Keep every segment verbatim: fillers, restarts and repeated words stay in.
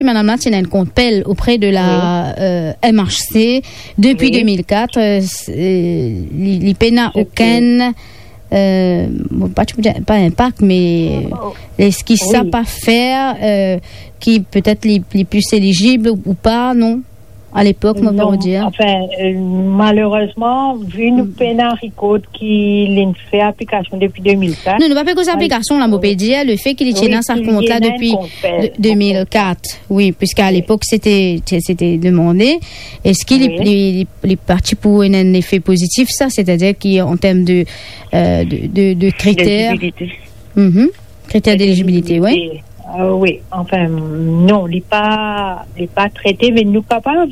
Madam la ti ena enn kont PEL opre de la, euh, M H C depi deux mille quatre, euh, s-, euh, li, li pena okenn, euh, bon, pa, pa inpak, me, euh, eski sa pa fer, euh, ki petet li, li pli elizib ou pa, non? A lepok, mo pa dir. Non, anfin, euh, malerezman, vi nou pena rikord ki linn fer aplikasion depi deux mille quatre. Non, nou pa pe koz aplikasion la, mo pe dir, lefe ki li ti ena sa kont la depi de-, deux mille quatre. Wi, piske a lepok, sete, sete demande. Eski li, li, li, li pa ti pou ena enn lefe pozitif, sa? Setadir ki an term de, euh, de, de, de kriter. Kriter delizibilite, wi. Wi, anfin, non, li pa, li pa trete, me nou kapav,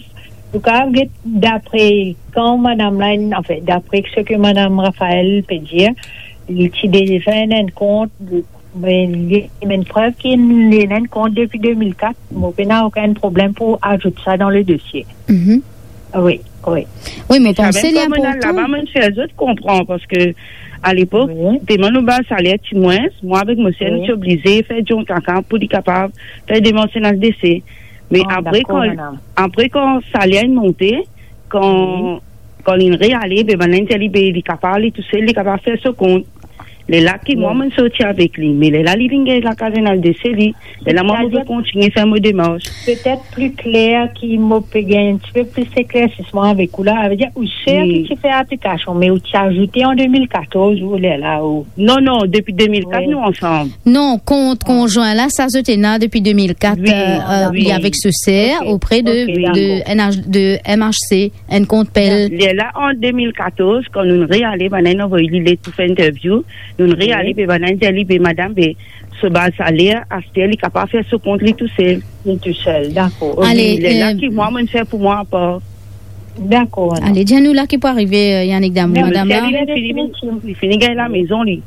nou kapav get dapre kan madam la, anfin, dapre seki madam Raphaël pe dir, li ti deza ena enn kont, me li, li ena enn prev ki li ena enn kont depi deux mille quatre, mo pena okenn problem pou azout sa dan le dosie. Wi, wi. Wi, me panse li inportan. Laba, mo fer zot konpran, paske a lepok, telman nou baz saler ti mwins, mwa avek mo ser, nou ti oblize fer dion kaka pou li kapav fer demans N H D C. Me apre, kan, apre kan saler inn monte, kan, kan linn reale, be bann la inn dir li, be li kapav ale tousel, li kapav fer so kont. Lerla ki mwa, mo'nn sorti avek li. Me lerla li vinn gagn lakaz N H D C li, lerla mwa mo pe kontigne fer mo demars. Petet pli kler ki mo pe gagn enn tipe plis eklersisman avek ou la, savedir ou ser ki ti fer aplikasion, me ou ti azoute an deux mille quatorze ou lerla ou... Non, non, depi deux mille quatre nou ansam. Non, kont konzwin la, sa zot ena depi deux mille quatre, euh, euh, li avek so ser, opre de, de N H, de M H C. Enn kont PEL. Lerla an deux mille quatorze, kan nou'nn reale, bann la inn anvoy li let pou fer interview, nou'nn reale, be bann la inn dir li, be madam, be so baz saler, aster li kapav fer so kont li tousel. Li tousel, dakor. Ale, lerla ki mwa, mo'nn fer pou mwa apar. Dakor, madam. Ale, dir nou la ki pou arive, euh, Yannick Damour, madam la. Li fini, li fini gagn lamezon li.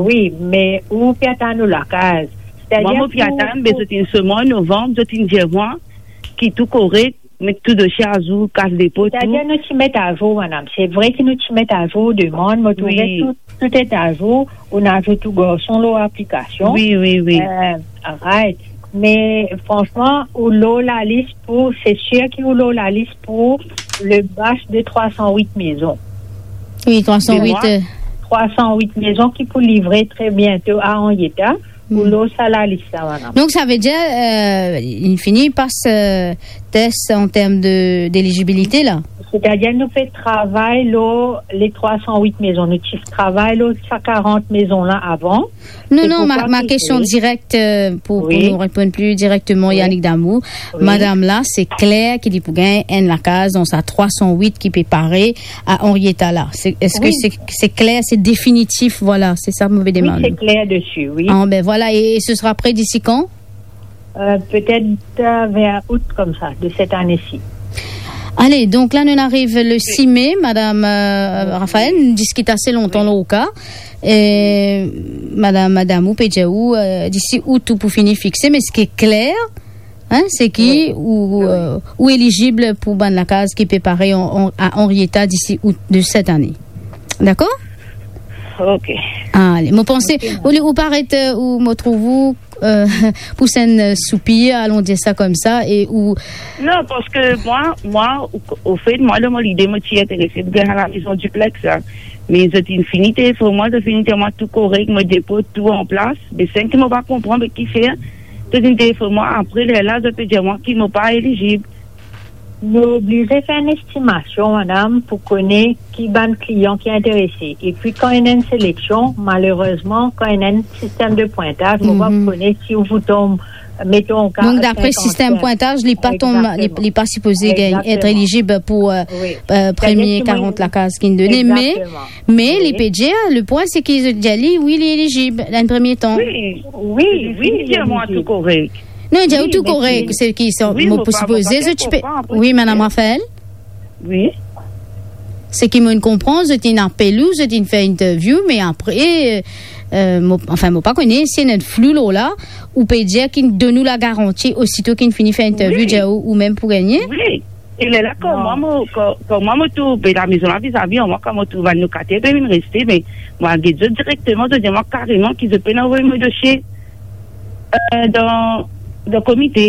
Wi, me ou pe atann ou lakaz. Mwa, mo pe atann, be zot inn sel mwa an novanm, zot inn dir mwa ki tou korek, met tou dosie azour, kas depo, tou. Setadir nou ti met azour, madam. Se vre ki nou ti met azour demann, mo trouve tou, tou et azour, ou ena azout ou garson lor aplikasion. Wi, wi, wi. Euh, right. Me fransman, ou lor lalis pou, se sir ki ou lor lalis pou le batch de trois cent huit mezon. Wi, trois cent huit, euh. Trois cent huit mezon ki pou livre tre biento a Henrietta. Ou lor sa lalis la, madam. Donk, savedir, euh, inn fini pas, euh, tes an term de, delizibilite la? Setadir, nou pe travay lor le trois cent huit mezon. Nou ti travay lor sa quarante mezon la avan. Non, non, ma, ma kestion direk, euh, pou, pou nou reponn pli direkteman, Yannick Damour. Madam la, se kler ki li pou gagn enn lakaz dan sa trois cent huit ki pe pare a Henrietta la. Se, eski se, se kler, se definitif, vwala, se sa mo pe demann. Wi, se kler desi, wi. Ah, ben vwala, e, e se sera pre disi kan? Euh, petet, euh, ver out koumsa, de set ane si. Ale, donk la, nou ariv le sis me, madam, euh, Raphaël, nou diskit ase lontan lor ou ka. E madam, madam, ou pe dir ou, euh, disi out tou pou fini fixe, me seki kler, hein, seki ou, euh, ou elizib pou bann lakaz ki pe pare an, an, a Henrietta disi out de set ane. Dakor? Ok. Ale, mo panse, ou, ou paret, euh, ou mo trouv ou, euh, pous enn, euh, soupir, alon dir sa koumsa, e ou... Non, paske mwa, mwa, o, ofet, mwa, dan mo lide, mo ti interese pou gagn lamezon diplex la. Me zot inn fini telefone mwa, zot fini dir mwa tou korek, mo depo tou an plas. Me sel ki mo pa konpran, be kifer zot inn telefone mwa apre lerla, zot pe dir mwa ki mo pa elizib. Nou oblize fer enn estimasion, madam, pou kone ki bann klian ki interese. Epi kan ena enn seleksion, malerezman, kan ena enn sistem de pwintaz, mo pa kone si ou pou tom, meton, ka... Donk, dapre sistem pwintaz, li pa tom, li, li pa sipoze gagn, et elizib pou, euh, euh, premie quarante lakaz ki inn done. Me, me li pe dir, le pwin, seki zot dir li, wi, li elizib, dan premie tan. Wi, wi, wi, li dir mwa tou korek. Non, li dir ou tou korek, seki sa, mo pa sipoze, zot ti pe... Wi, madam Raphaël? Wi. Seki mo'nn konpran, zot inn apel ou, zot inn fer interview, me apre, euh, euh, mo, anfin, mo pa kone, si ena flou lor la, ou pe dir ki donn ou lagaranti, osito ki fini fer interview, dir ou, ou mem pou gagne? Wi. E lerla, kan mwa mo, kan, kan mwa mo trouv, be lamezon la vizavi an mwa, kan mo trouv bann lokatair pe vinn reste, be mwa get zot direkteman, zot dir mwa kareman ki zot pena anvoy mo dosie, euh, dan, dan komite.